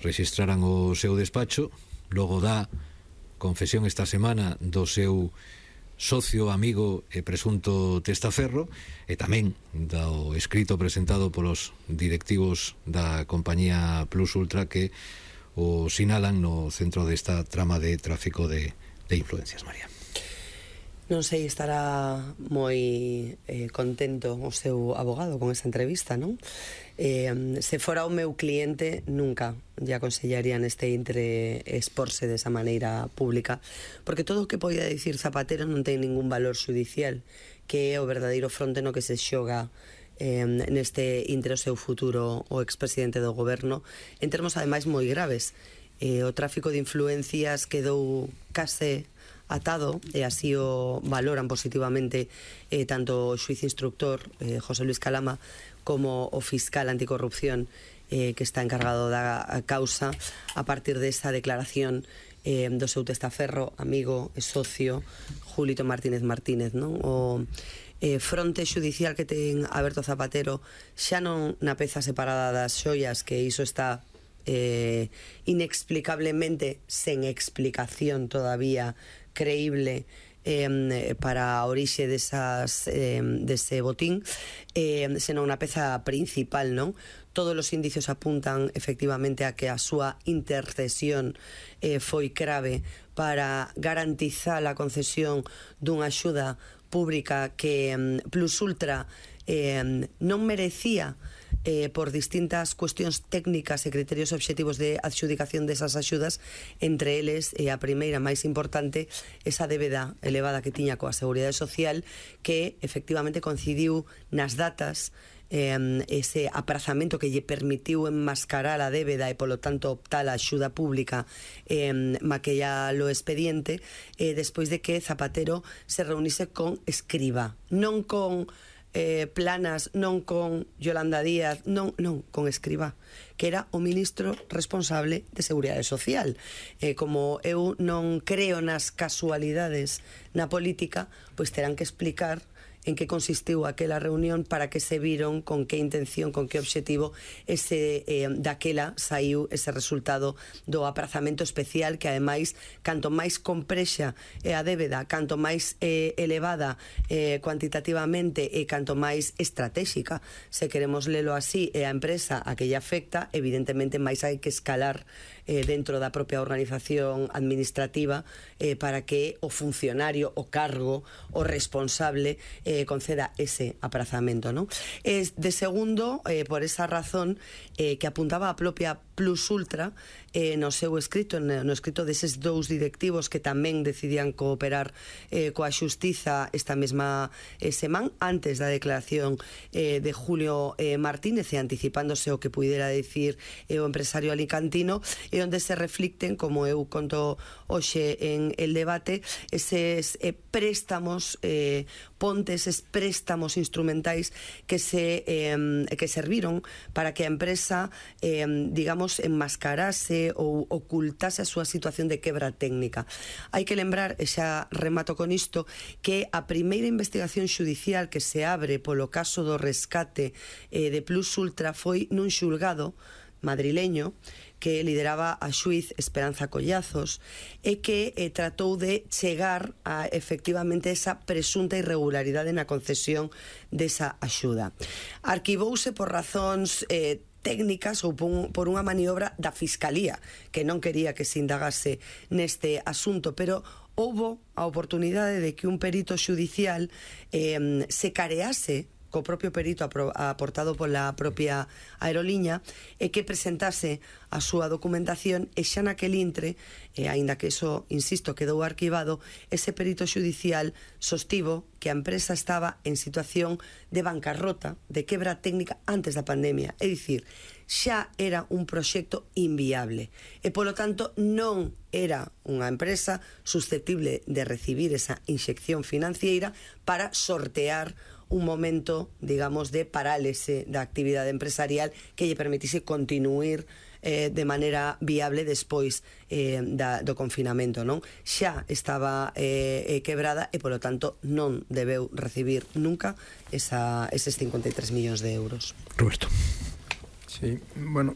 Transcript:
rexistraran o seu despacho, logo dá confesión esta semana do seu socio, amigo e presunto testaferro, e tamén do escrito presentado polos directivos da compañía Plus Ultra que o sinalan no centro desta trama de tráfico de influencias. María, non sei, estará moi contento o seu abogado con esa entrevista, non? Se fora o meu cliente, nunca lle aconsellaría neste intre exporse desa maneira pública, porque todo o que poida dicir Zapatero non ten ningún valor xudicial, que é o verdadeiro fronte no que se xoga neste intre o seu futuro o expresidente do goberno, en termos ademais moi graves. O tráfico de influencias quedou case atado, e así o valoran positivamente tanto o xuiz instructor José Luis Calama como o fiscal anticorrupción que está encargado da causa, a partir desa declaración do seu testaferro, amigo e socio Julito Martínez Martínez, non? O fronte xudicial que ten aberto Zapatero xa non na peza separada das xoias, que iso está inexplicablemente sen explicación todavía creíble para a orixe dese botín, senón na peza principal, non? Todos os indicios apuntan efectivamente a que a súa intercesión foi clave para garantizar a concesión dunha axuda pública que Plus Ultra non merecía por distintas cuestións técnicas e criterios obxectivos de adxudicación desas axudas, entre eles, a primeira máis importante, esa débeda elevada que tiña coa Seguridade Social, que efectivamente coincidiu nas datas, ese aprazamento que lle permitiu enmascarar a débeda e polo tanto optar a axuda pública, maquillar o expediente, despois de que Zapatero se reunise con Escrivá, non con Planas, non con Yolanda Díaz, non, con Escrivá, que era o ministro responsable de Seguridade Social. Como eu non creo nas casualidades na política, pois terán que explicar en que consistiu aquela reunión, para que se viron, con que intención, con que obxectivo daquela saiu ese resultado do aprazamento especial, que ademais, canto máis comprexa a débeda, canto máis elevada cuantitativamente e canto máis estratégica, se queremos lelo así, e a empresa a que lle afecta, evidentemente máis hai que escalar dentro da propia organización administrativa para que o funcionario, o cargo, o responsable conceda ese aprazamento, non? De segundo, por esa razón que apuntaba a propia Plus Ultra no seu escrito, no escrito deses dous directivos que tamén decidían cooperar coa xustiza esta mesma semana, antes da declaración de Julio Martínez, e anticipándose o que puidera decir o empresario alicantino, e onde se reflicten, como eu conto hoxe en el debate, eses préstamos pontes, eses préstamos instrumentais que serviron para que a empresa, digamos, enmascarase ou ocultase a súa situación de quebra técnica. Hai que lembrar, e xa remato con isto, que a primeira investigación xudicial que se abre polo caso do rescate de Plus Ultra foi nun xulgado madrileño que lideraba a xuiz Esperanza Collazos, e que tratou de chegar a efectivamente esa presunta irregularidade na concesión desa axuda. Arquivouse por razóns técnicas ou por unha maniobra da Fiscalía, que non quería que se indagase neste asunto, pero houbo a oportunidade de que un perito xudicial se carease co propio perito aportado pola propia aeroliña, e que presentase a súa documentación, e xa naquel intre, aínda que eso, insisto, quedou arquivado, ese perito xudicial sostivo que a empresa estaba en situación de bancarrota, de quebra técnica antes da pandemia, é dicir, xa era un proxecto inviable, e polo tanto non era unha empresa susceptible de recibir esa inxección financiera para sortear un momento, digamos, de parálise da actividade empresarial que lle permitise continuar de maneira viable despois do confinamento, non? Xa estaba quebrada e, polo tanto, non debeu recibir nunca eses 53 millóns de euros. Roberto. Sí, bueno,